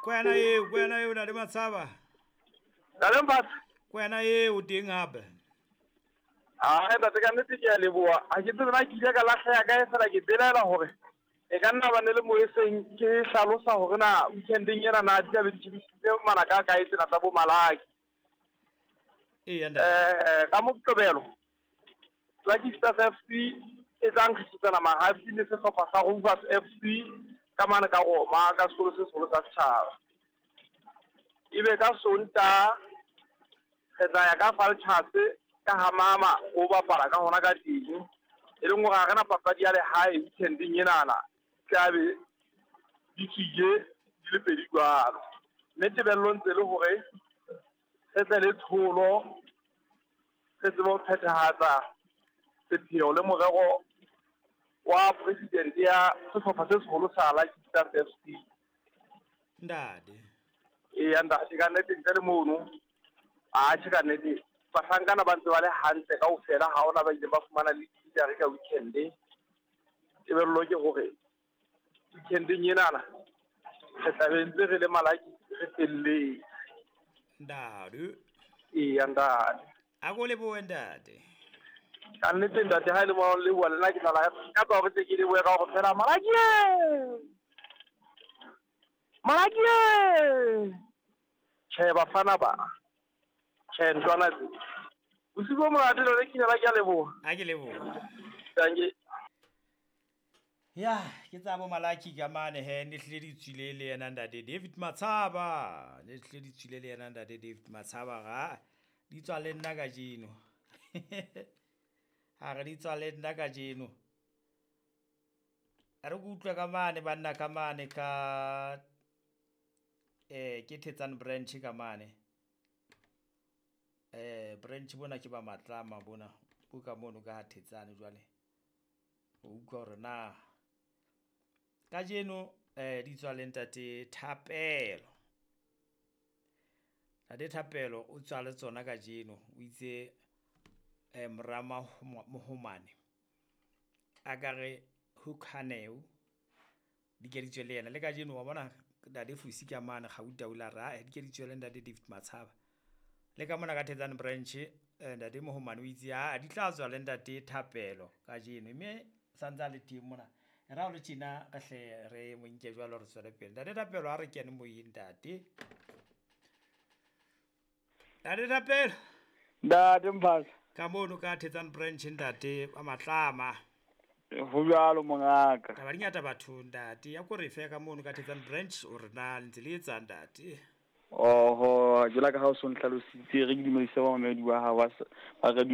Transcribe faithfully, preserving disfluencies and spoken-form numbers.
Kwena eo, kwena eo Ntate Matshaba. Ntate Mphatse. Kwena eo teng hape. Ah, ntate ka nnete ke a leboha. Ha ke tsebe na ke ile ka lahleha kae fela ke belaela hore e ka nna ba ne le mo e seng ke hlalosa hore na weekendeng ena na di tla be di tjhebisitse manaka a kae tsena tsa bo Malaki. Eya ntate. Eh, ka Moqebelo Lucky Stars F C e tla nkgisetsana mahafi le sehlopha sa Rovers F C ka mane ka Roma ka sekolo se seholo sa setjhaba. Ebe ka Sontaha re tla ya ka Vultures ka ha mama o bapala ka hona ka teng. E leng hore ha re na papadi ya lehae weekendeng enana tlabe di tswile di le pedi jwalo. Mme tebello ntse le hore re tle le tsholo re tsebe ho phethahatsa sepheo le morero wa president ya sehlopha se seholo sa Lucky Stars F C. Ntate. Eya ntate, ka nnete ntle le mono atjhe ka nnete bahlankana ba ntse ba le hantle kaofela, ha hona ba ileng ba fumana le di-injury ka weekend. Tebello ke hore weekendeng enana re tla be ntse re le Malaki re felletse. Ntate. Eya ntate. A ko lebohe ntate. Ka nnete ntate ha e le mo leboha le nna ke tla ka tsa hore tle ke lebohe ka hore fela Malaki Malaki tjhe bafana ba tjhe ntlwana tse bosiu bo monate lona ke ke a leboha. A ke leboha. Dankie. Ya, ke tsa bo Malaki ka mane he ne hlile di tswile le yena ntate David Matshaba. Ne hlile di tswile le yena ntate David Matshaba ga di tswa le nna kajeno. Ha re di tswa le nna kajeno. A re kutlwe ka mane banna ka mane ka eh ke Thetsane branch ka mane. Eh branch bona ke ba Matlama bona bo ka mono ka ha Thetsane jwale. O utlwa hore na kajeno eh di tswa le ntate Thapelo. Ntate Thapelo o tswa le tsona kajeno o itse eh Morama Mohomane a ka re Hukhaneo di ke di tswe le yena le kajeno wa bona ntate Fusi ka mane Gauta o la ra di ke di tswe le ntate David Matshaba. Le ka mona ka Thetsane branch ntate Mohomane o itse ha di tla tswa le ntate Thapelo kajeno mme santsa le teng mona. Ra o le tjena re hle re mo nke jwalo re tswele pele. Ntate Thapelo ha re kene moyeng ntate. Ntate Thapelo. Ntate Mphatse. Ka mono ka Thetsane branch ntate ba Matlama. Ho jwalo mongaka. Taba di ngata batho ntate. Ya ko re fe ka mono ka Thetsane branch o re na le ntse le etsang ntate. Oho, jwalo ka ha o so nhlalositse re ke dumedise ba mamedi ba hao ba radio